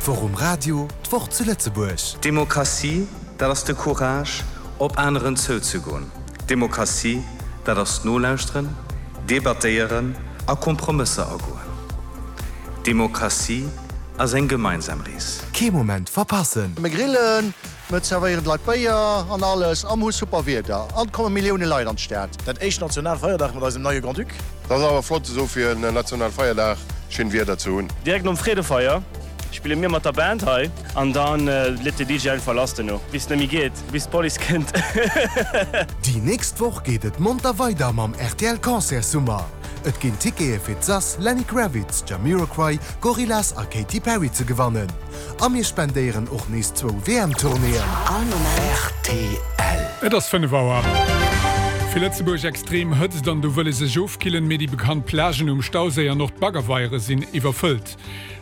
D'Woch um Radio, d'Woch zu Lëtzebuerg. Demokratie, dat ass de Courage, op aneren zouzegoen. Demokratie, dat ass nolauschteren, debattéieren a Kompromësser agoen. Demokratie ass eng gemeinsam Rees. Kee Moment verpassen! Mir grillen, mir zerwéieren d'Leit Béier an alles a mir hu super Wieder an et komme Millioune Leit an d'Stad. Dat éischt Nationalfeierdag mat eisem neie Grand-Duc. Dat ass awer flott esou fir en Nationalfeierdag schéin Wieder ze hunn. Direkt nom Freedefeier spille mir mat der Band hei an dann leet de DJ einfach lass duerno bis et net méi geet, bis d'Police kënnt. Déi nächst Woch geet et monter weider mam rtl Concert Summer. Et ginn Tickete fir d'Sass, Lenny Kravitz, Jamiroquai, Gorillaz a Katy Perry ze gewannen. A mir spendéieren och nees zwou WM-Tournéeën. Rtl. Et ass 5 Auer. Fir Lëtzebuerg extrem Hëtzt an do wëlle sech ofkillen, mee déi bekannt Plagen um Stauséi an och d'Baggerweiere sinn iwwerfëllt.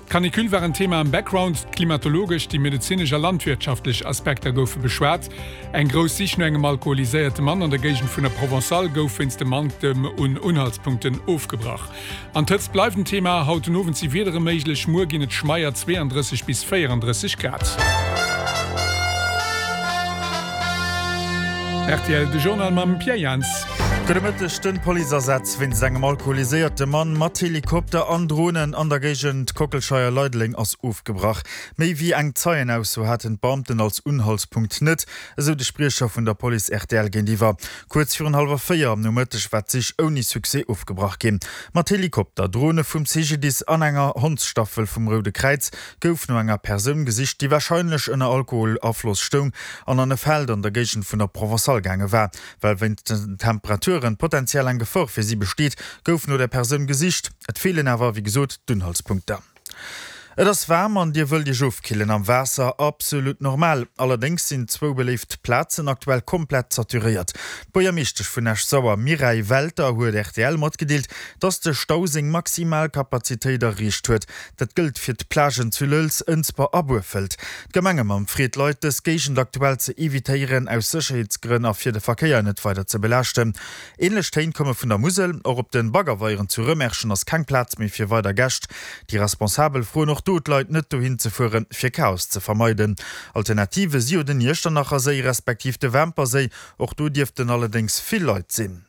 D'Canicule war en Thema am Background, d'klimatologesch, déi medezinesch a landwirtschaftlech Aspekter goufe beschwat. Eng grouss Sich no engem alkoholiséierte Mann an der Géigend vun der Provençale gouf wéinst dem Manktem un Unhaltspunkten ofgebrach. An d'Hëtzt bleift en Thema, haut den Owend si Wiedere méiglech, muer ginn et schmeier 32 bis 34 Grad. Rtl, De Journal mam Pierre Jans. Gudde Mëtteg, Den Policeasaz wéinst engem alkoholiséierte Mann mat Helikopter an Dronen an der Géigend Kockelscheier-Leideleng ass ofgebrach. Méi wéi eng Zeienausso haten d'Beamten als Unhaltspunkt net, esou de Spriecher vun der Police rtl géintiwwer. Kuerz virun hallwer 4 am Nomëtteg war d'Sich ouni Succès ofgebrach ginn. Mat Helikopter, Drone vum CGDIS an enger Hondsstaffel vum Roude Kräiz gouf no enger Persoun gesicht, déi warscheinlech ënner Alkoholafloss stoung an an e Feld an der Géigend vun der Provençale gaange war. Well wéinst den Temperaturen potenziell eng Gefor fir si besteet, gouf no der Persoun gesicht. Et feelen awer, wéi gesot, d'Unhaltspunkter. Et ass waarm an dir wëllt iech ofkillen am Waasser? Absolut normal. Allerdéngs sinn zwou beléift Plazen aktuell komplett saturéiert. D'Buergermeeschtesch vun Esch-Sauer Mireille Welter huet rtl matgedeelt, dass de Stau seng maximal Kapazitéit erreecht huet. Dat gëllt fir d'Plagen zu Lëlz, Ënsber a Burfelt. D'Gemengemamm freet d'Leit, dës Géigend aktuell ze evitéieren, aus Sécherheetsgrënn a fir de Verkéier net weider ze belaaschten. Ähnlech Téin komme vun der Musel. Och op de Baggerweieren zu Rëmerschen ass keng Plaz méi fir weider Gäscht. Déi Responsabel froen och do d'Leit net dohin ze fueren, fir Chaos ze vermeiden. Alternative si jo den Iechternacher Séi respektiv de Wämper Séi. Och do dierften allerdéngs vill Leit sinn.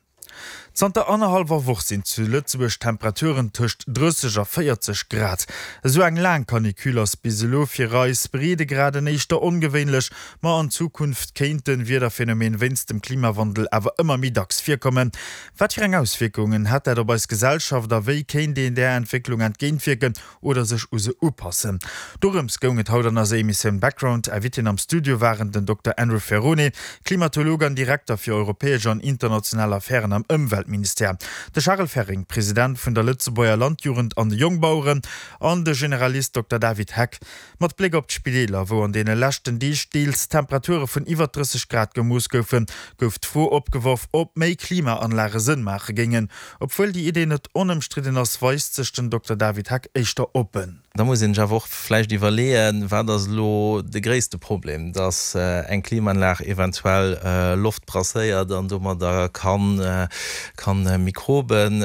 Zanter annerhallwer Woch sinn zu Lëtzebuerg Temperaturen tëscht 30 a 40 Grad. Esou eng laang Canicule ass bis elo fir eis Breedegraden éischter ongewéinlech. Ma an Zukunft kéint de Wiederphenomen wéinst dem Klimawandel awer ëmmer méi dacks virkommen. Wat fir eng Auswierkungen hätt dat op eis Gesellschaft a wéi kéint een där Entwécklung entgéintwierken oder sech u se upassen? Dorëms goung et haut an eiser Emissioun Background. Invitéen am Studio waren den Dokter Andrew Ferrone, Klimatolog an Direkter fir europäesch an international Affären am Ëmweltministère, de Charel Ferring, President vun der Lëtzebuerger Landjugend an de Jongbaueren an de Generalist Dokter David Heck. Mat Bléck op d'Spideeler, wou an deene leschten Deeg deels Temperature vun iwwer 30 Grad gemooss goufen, gouf d'Fro opgeworf, ob méi Klimaanlage Sënn maache géingen. Obwuel déi Idee net onëmstridden ass, weist sech den Dokter David Heck éischter oppen. Da muss een sech awer och vläicht iwwerleeën, wat ass elo de gréisste Problem, dass eng Klimaanlag eventuell Loft brasséiert an domadder kann Mikroben.